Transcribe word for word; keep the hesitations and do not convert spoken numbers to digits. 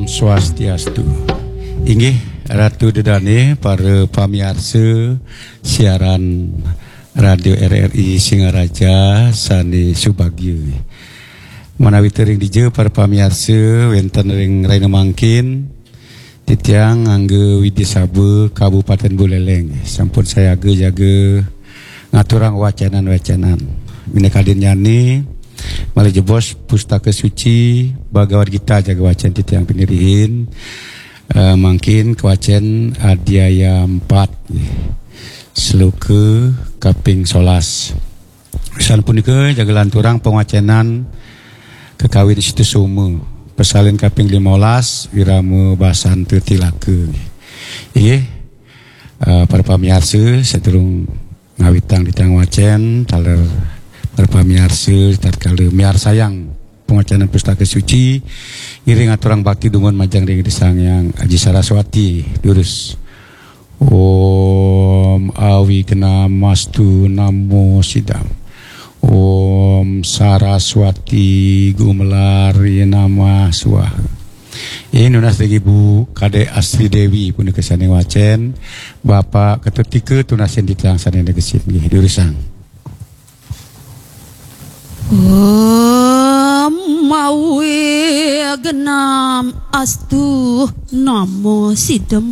Swastiastu. Inggih, Ratu Dedane, para pamiarsa siaran Radio R R I Singaraja sane subagya. Manawi tering dija para pamiarsa wenten ring rahina mangkin, titiang ngangge Widya Saba Kabupaten Buleleng sampun sayaga jaga ngaturang wacenan-wacenan. Minakadinnyane malih jebos Pustaka Suci Bhagavad Gita jaga wacen titiang pinirihin. Eh, mangkin kawacen adhyaya empat, sloka kaping solas. Sapunika jaga lanturang pangwacenan kakawin Situsoma, pasalin kaping limolas, Wirama Basanta Tilaka. Inggih, eh, para pamiarsa, sadurung ngawitang titiang wacen, taler para pamiarsa tatkala miarsayang pangwacenan Pustaka Suci, ngiring aturang bakti dumun majeng ring Ida Sang Hyang Aji Saraswati. Durus. Om Awignamastu Namo Sidam. Om Saraswati Gumelari Namah Swaha. Inggih, nunas ring Ibu Kadek Astri Dewi punika sane wacen, Bapak Ketut Tika tunasin titiang sane negesin nggih, durusang. Om Awignam Astu Namo Sidam.